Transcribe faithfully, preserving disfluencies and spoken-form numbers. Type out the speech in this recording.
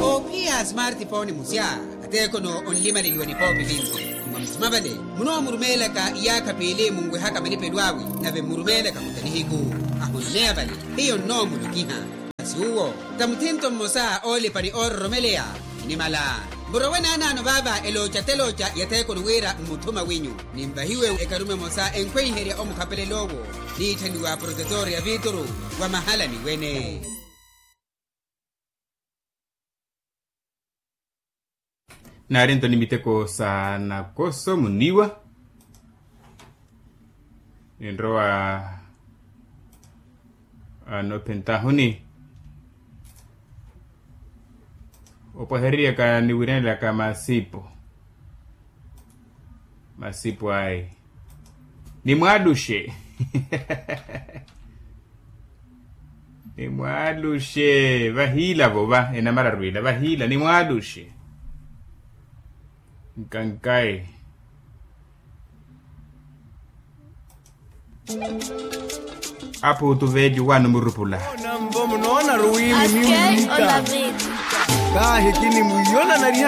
Ophiya smartphone musya, ateekono onlimaleliwa nipoopi vinci. Mwa musuma vale munoomurumeelaka iyaakha piili munwehaka malipelo awe, nave mmurumeelaka kuta nihiku. Ahoneya vale hiyo nnoomulokiha. Masi uwo ta muthinto mmosa oolipa ni oororomeleya. Inimala murowe naanaano vaava elooca telooca ya theekoni wira mmuthuma winyu. Ninvahiwe ekarume emosa enkhweiherya omukhapelela owo, niitthaniwa protetor ya vituru wa mahalani wene. Naari ntoni miteko sa nakoso muniwa. Ninrowa anophentahuni opwahereryaka niwiranelaka masipo. Masipo ayi nimwaluxe. Nimwaluxe vahiila vova enamararu ila vahiila nimwaluxe. Nkankayi. Apo otuveeli owaana omurupula. Onamvo munoonaru wi muniwihita. Kahi kinimwiyona nariha.